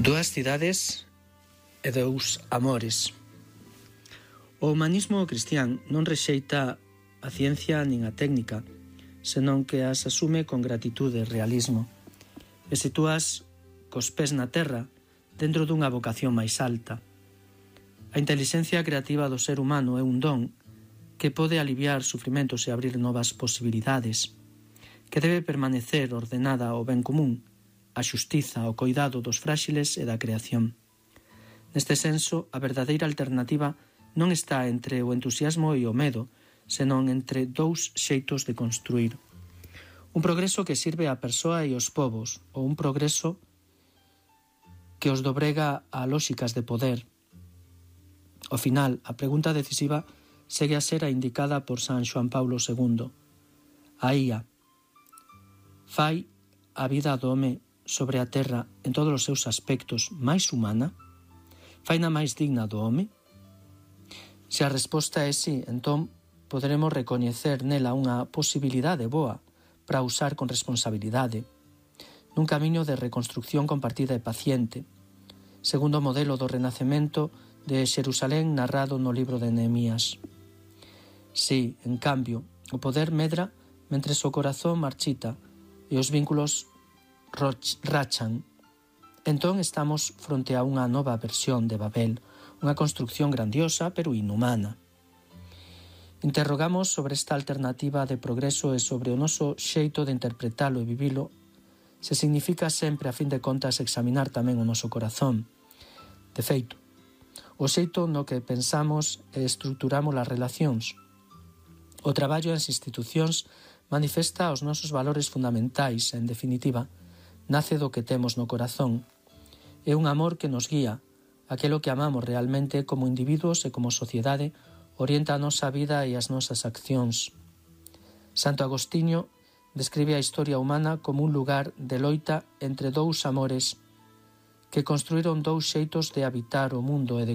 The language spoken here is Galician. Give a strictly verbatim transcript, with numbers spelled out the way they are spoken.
Dúas cidades e dous amores. O humanismo cristián non rexeita a ciencia nin a técnica, senón que as asume con gratitude e realismo, e sitúas cos pés na terra dentro dunha vocación máis alta. A intelixencia creativa do ser humano é un don que pode aliviar sufrimentos e abrir novas posibilidades, que debe permanecer ordenada ao ben común, a xustiza, o coidado dos fráxiles e da creación. Neste senso, a verdadeira alternativa non está entre o entusiasmo e o medo, senón entre dous xeitos de construir. Un progreso que sirve á persoa e aos povos, ou un progreso que os dobrega a lóxicas de poder. Ao final, a pregunta decisiva segue a ser a indicada por San Xoán Paulo segundo. A I A fai a vida do home sobre a terra en todos os seus aspectos máis humana? Faina máis digna do home? Se a resposta é sí, entón poderemos recoñecer nela unha posibilidade boa para usar con responsabilidade, nun camiño de reconstrucción compartida e paciente, segundo o modelo do renacemento de Xerusalén narrado no libro de Nehemías. Si, en cambio, o poder medra mentres o corazón marchita e os vínculos rachan. Entón estamos fronte a unha nova versión de Babel, unha construcción grandiosa pero inhumana. Interrogamos sobre esta alternativa de progreso e sobre o noso xeito de interpretalo e vivilo, se significa sempre, a fin de contas, examinar tamén o noso corazón. De feito, o xeito no que pensamos e estruturamos as relacións. O traballo nas institucións manifesta os nosos valores fundamentais e, en definitiva, nace do que temos no corazón. É un amor que nos guía, aquelo que amamos realmente como individuos e como sociedade orienta a nosa vida e as nosas accións. Santo Agostinho describe a historia humana como un lugar de loita entre dous amores que construíron dous xeitos de habitar o mundo e de